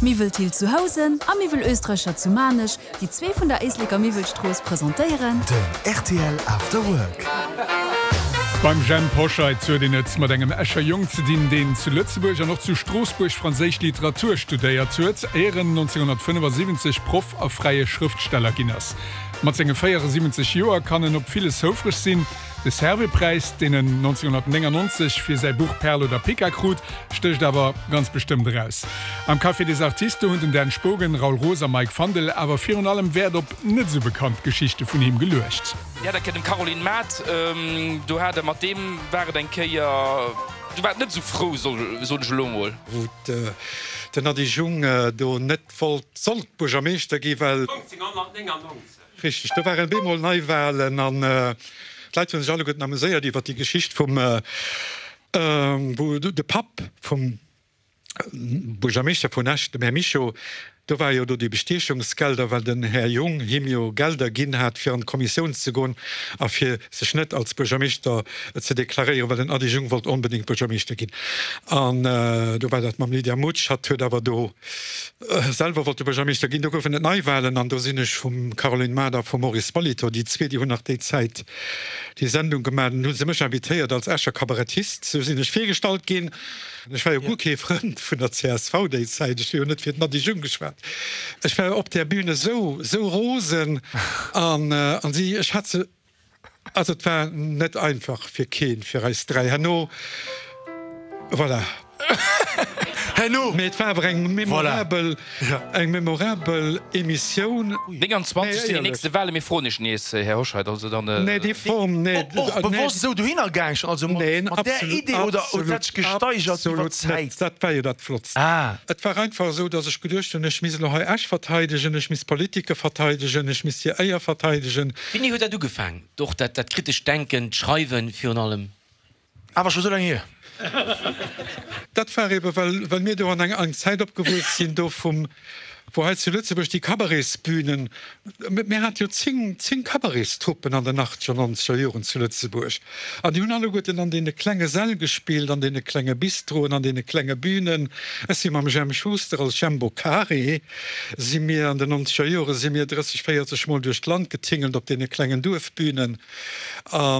Miwwel Thill zu Housen a Miwwel Österreicher zu Maarnech, déi zwee vun der Éisleker Miwwelstrooss, presentéieren. Den rtl After Work. Beim Jhemp Hoscheit huet een et mat engem Escher Jong ze dinn, deen zu Lëtzebuerg an och zu Stroossbuerg franséisch Literatur studéiert huet, éier en 1975 Proff a fräie Schrëftsteller ginn ass. Mat senge 74 Joer kann en op villes houfreg sinn. De Servais-Präis, deen en 1999 fir säi Buch Perl oder Pica krut, stécht awer ganz bestëmmt eraus. Am Café des Artistes hunn den Dan Spogen, Raoul Roos a Mike Fandel awer virun allem Wäert op net esou bekannt Geschichte vun him geluecht. Dir hat eng Kéier dem Caroline Mart, do hat e mat deem war et eng Kéier, do war et net esou frou, soen ech elo mol. Wou den Ady Jung do net wollt, sollt Buergermeeschter gi well. 1999. Richteg, do waren bemol Neiwahlen an d'Leit hunn sech alleguerten amuséiert iwwer déi Geschicht vum, wou de Papp vum Buergermeeschter vun Esch, dem Här Mischo, do war jo do déi Bestiechungsgelder, well den Här Jung him jo Gelder ginn hat fir an d'Kommissioun ze goen a fir sech net als Buergermeeschter ze deklaréieren, well den Ady Jung wollt onbedéngt Buergermeeschter ginn. An do war dat mam Lydia Mutsch, hatt huet awer do Selwer wollt de Buergermeeschter ginn. Do goufen et Neiwahlen an do sinn ech vum Caroline Mart a vum Maurice Molitor, déi zwee, déi hunn nach déi Zäit déi Sendung gemaach, dunn hu se mech invitéiert als Escher Kabarettist. Sou sinn ech virgestallt ginn. Ech war jo guer kee Frënd vun der csv déi Zäit, ech hu jo net fir den Ady Jung geschwat. Ech war op där Bühn esou, esou rosen an si, ech hat se, Also et war net einfach fir keen, fir eis 3 herno, voilà. Herno, Mee et war awer eng memorabel, eng memorabel Emissioun. 29 sinn déi nächste Wahlen. Mir froen Iech nees, Här Hoscheit, also dann. Nee, déi Form, nee. Och bewosst esou dohinner gaang schon, also mat där Idee, oder huet dat sech gesteigert iwwer d'Zäit? Absolut net, dat war jo dat Flottst. Et war einfach esou, datt ech geduecht hunn, ech misst elo hei Esch verteidegen, ech misst Politiker verteidegen, ech misst hir Éier verteidegen. Wéini huet dat ugefaang, och dat dat kritescht Denken, d'Schreiwen virun allem? Awer scho sou laang hier. Dat war ebe well well mir do an enger eng Zäit opgewuess sinn, do vum wou hei zu Lëtzebuerg déi Cabaretsbünen, mir hate jo 10, 10 Cabaretstruppen an den achtzeger, nonzeger Joren zu Lëtzebuerg an déi hunn alleguerten an deene klenge Säll gespillt, an deene klenge Bistroen, an deene klenge Bünen. Ech si mam Jemp Schuster als Jembo Carré si mir an den nonzeger Jore si mir 30, 40 Mol duerch d'Land getingelt op deene klengen Duerfbünen a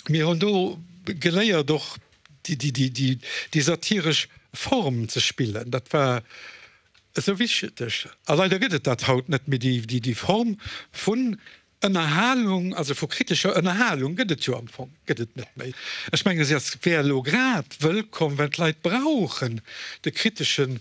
mir hunn do geléiert och déi satiresch Form ze spillen. Dat war esou wichteg a leider gëtt et dat haut net méi, déi Form vun Ënnerhalung, also vu kritescher Ënnerhalung gëtt et jo am Fong gëtt et net méi. Ech menge se ass wär elo grad wëllkomm, well d'Leit brauchen de kritesche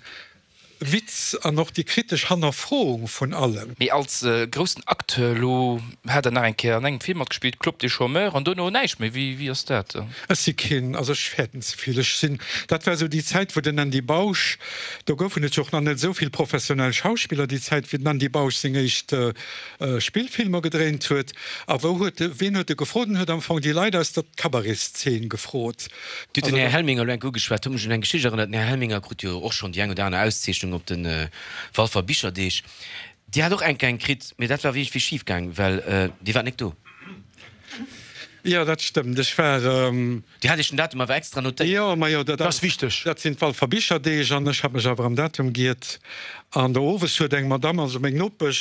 Witz an och déi kritesch Hannerfroung vun allem. Mee als groussen Acteur, elo hat Der nach eng Kéier an engem Film matgespillt, Club des chômeurs, an dono näischt méi. Wéi wéi ass dat? Ech si keen, also ech fäerten ze vill. Ech sinn, dat war esou déi Zäit, wou den Andy Bausch, do goufen et jo och nach net esou vill professionell Schauspiller déi Zäit, wéi den Andy Bausch seng éischt Spillfilmer gedréint huet. A wou huet e, ween huet e gefrot? En huet am Fong déi Leit aus der Cabaretszeen gefrot. Dir hutt den Här Helminger elo enk ugeschwat, huet mech un eng Geschicht erënnert. Den Här Helminger krut jo och schonn déi eng oder aner Auszeechnung op de Walfer Bicherdeeg. Dir hat och enk eng kritt, mee dat war iergendwéi schif gaang, well Dir waart nek do. Jo, dat stëmmt. Ech war. Dir hat Iech den Datum awer extra notéiert. Jo, majo, dat ass wichteg. Dat sinn d'Walfer Bicherdeeg an ech hat mech awer am Datum giert. An do owes huet eng Madamm, also meng Nopesch.